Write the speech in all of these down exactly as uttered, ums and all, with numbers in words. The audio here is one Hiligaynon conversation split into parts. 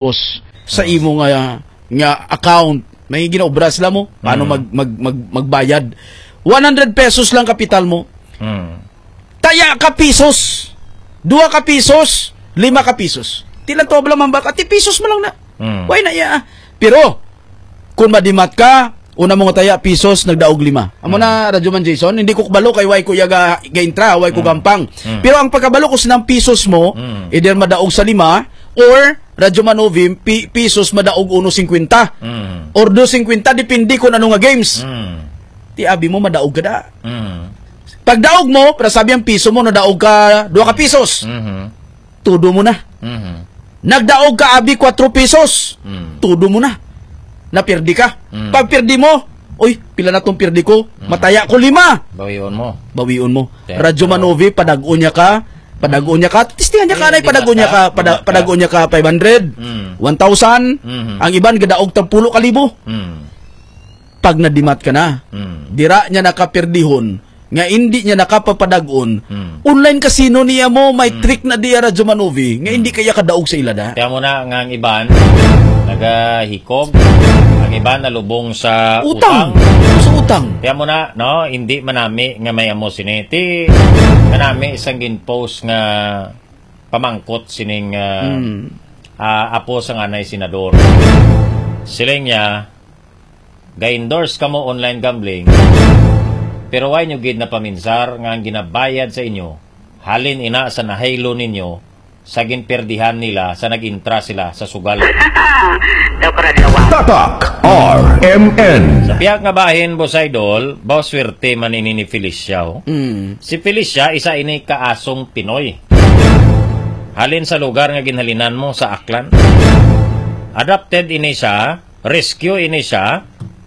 Tapos, sa imo nga, nga account, may ginaobra sila mo, paano Mm. mag, mag, mag, magbayad? One hundred pesos lang kapital mo. Mm. Taya ka pisos. Dua ka pisos, lima ka pisos. Tilan to, bala, mambak, ati pisos mo lang na. Mm. Why na iya? Pero, kung madimat ka, una mo nga taya, pisos, nagdaog lima. Amo Mm. na, Radyo Man Jason, hindi ko kabalo kay why ko iya ga, ga-intra, why ko Mm. gampang. Mm. Pero ang pagkabalo ko sinang pisos mo, Mm. either madaog sa lima, or, Radyo Man Ovi, pi-, pisos, madaog uno singkwenta. Mm. Or dos singkwenta, depende kung ano nga games. Mm. Ti abi mo, madaog ka da. Mm. Pagdaog mo, para sabi ang piso mo, nadaog ka, dua ka pisos. Mhm. Todo mo na. Mhm. Nagdaog ka, abi, kwatro pisos. Mm. Todo mo na. Napirdi ka. Mm. Pag pirdi mo, "Uy, pila na tong pirdi ko? Mm. Mataya ko lima." Bawion mo. Bawion mo. Te-, Radyo Manovi, padag-on niya ka. Padag-on niya ka. Tistihan niya ka, Hindi, nay, hindi padag-on niya basta. ka. Pada-, Hindi basta. padag-on niya ka, five hundred. Mm. One thousand. Mhm. Ang iban, gadaog tag pulo ka libo. Mm. Pag nadimat ka na, Mm. dira niya nakapirdihon, nga indi niya nakapapadag-on, Mm. online casino niya mo, may Mm. trick na diya, Radyo Manovi, nga hindi Mm. kaya kadaog sa ila da. Kaya mo na nga ang iban, nagahikog, ang iban nalubong sa Utang. utang. Sa utang. Kaya mo na, no, hindi manami nga may amo sini. Ti, manami isang ginpost nga pamangkot sining, ah, Mm. ah, apo sang anay senador. Siling niya, "Ga-endorse kamo online gambling, pero why nyo gid napaminsar nga ang ginabayad sa inyo, halin ina sa nahaylo ninyo, sa ginperdihan nila sa nag-intra sila sa sugal?" Daw karadlawan. Tatak R M N. Sa pihak nga bahin, Boss Idol, ba swerte man ini ni Felicia, oh. Mm. Si Felicia, isa ini ka asong Pinoy. Halin sa lugar nga ginhalinan mo sa Aklan. Adopted ini siya, rescue ini siya,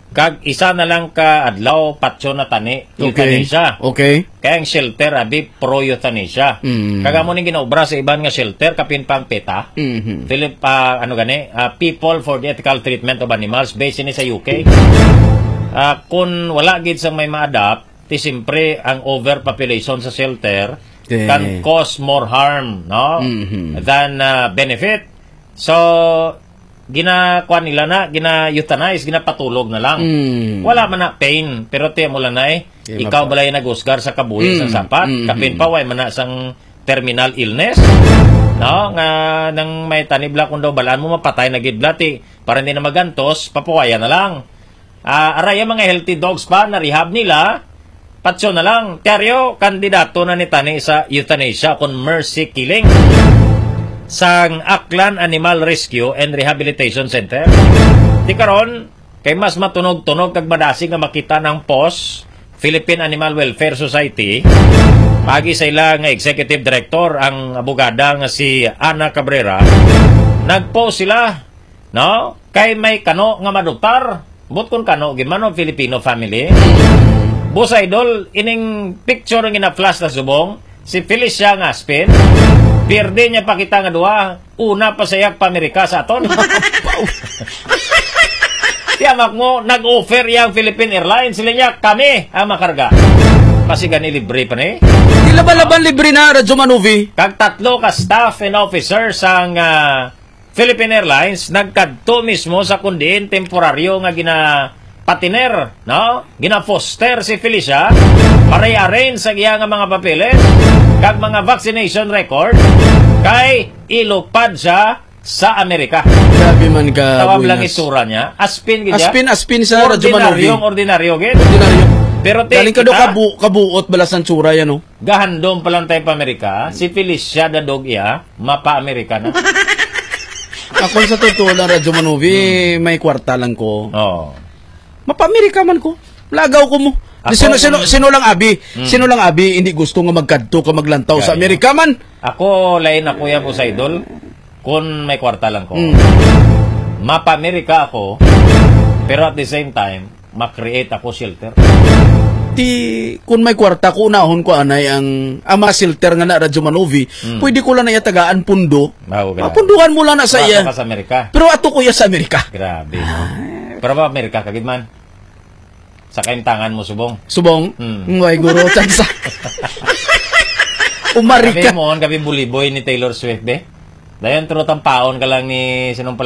kag isa na lang ka adlaw patyon na tani, Okay. euthanasia. Okay. Kay ang shelter, abi, pro-euthanasia. Mm. Kag amo ning ginaobra sa iban nga shelter, kapin pang PETA. Mhm. Philip, ah, ano gani, ah, People for the Ethical Treatment of Animals, based ini sa U K. Ah, kung wala gid sang may ma-adopt, ti siyempre ang overpopulation sa shelter Okay. can cause more harm, no? Mhm. Than, ah, benefit. So, ginakuan nila na, gina-euthanize, ginapatulog na lang. Mm. Wala man na pain, pero ti mo lang na eh. Di Ikaw mapa- balay naghusgar sa kabuhi Mm, sang sapat, mm, kapin mm. pa, way man na sang terminal illness. No? Nga nang may tanib la kung daw balaan mo, mapatay na gid la, ti, para hindi na magantos, papuwaya na lang. Ah, aray ang mga healthy dogs pa, na-rehab nila, patso na lang. Tiaryo, kandidato na ni tani sa euthanasia kon mercy killing sang Aklan Animal Rescue and Rehabilitation Center. Ti karon, kay mas matunog-tunog kag madasig nga makita ng pos, Philippine Animal Welfare Society, pagi sa ila nga executive director, ang abogada nga si Ana Cabrera, nag-post sila, no? Kay may kano nga maduktar. But kung kano, gid man, no, Filipino family. Boss Idol, ining picture nga gina-flash na subong, si Felicia nga Aspin, pierde niya pa kita nga duha, una pa sa iyang pamirika sa aton. Tiyamak mo, nag-offer iyang Philippine Airlines, sila niya, kami ang makarga. Pasigan ni libre pa ni. Di laban-laban libre na, Radyo Manuvi. Kag tatlo ka staff and officers ang, ah, Philippine Airlines nagkadto mismo sa kundiin temporaryo nga ginapatiner, no? Gina-foster si Felicia para i-arrange sa iya nga mga papeles kag mga vaccination record kay ilupad siya sa Amerika. Grabe man ka, Tawag lang buenas. Itsura niya. Aspin gid siya. Aspin, aspin sa Radyo Manuvi. Ordinaryong ordinaryo gid. Ordinaryo. Pero ti-, Galing ka daw kita kabu-, kabuot bala sang tsura yan, no? Gahandom pa lang tayo pa Amerika. Si Felicia Dadog iya, mapa-Amerika na. Ako sa totoo lang, Radyo Manuvi, Hmm. may kwarta lang ko. Oo. Mapa-Amerika man ko. Lagaw ko mo. Di Ako, sino, sino, mm. sino lang abi? Mm. Sino lang abi, hindi gusto nga magkadto ka maglantaw sa Gaya. Amerika man? Ako, lain ako yan, Boss Idol. Kung may kwarta lang ko. Mm. Mapa-Amerika ako, pero at the same time, ma-create ako shelter. Ti, kung may kwarta ko, unahon ko anay ang, ang mga shelter nga na Radyo Manovi, Mm. pwede ko lang na iya tagaan pundo. Mao ka. Mapunduhan mo lang na sa Wala iya. ka sa Amerika. Pero ato ko iya sa Amerika. Grabe, no? Ay. Pero ba Amerika ka gid man? Sa kaimtangan mo, subong? Subong? Mm. Ngay, guro, tsansa. Umarika. Sabi mo, on kami buliboy ni Taylor Swift, be? Dayon, true, tampaon ka lang ni, sinong pala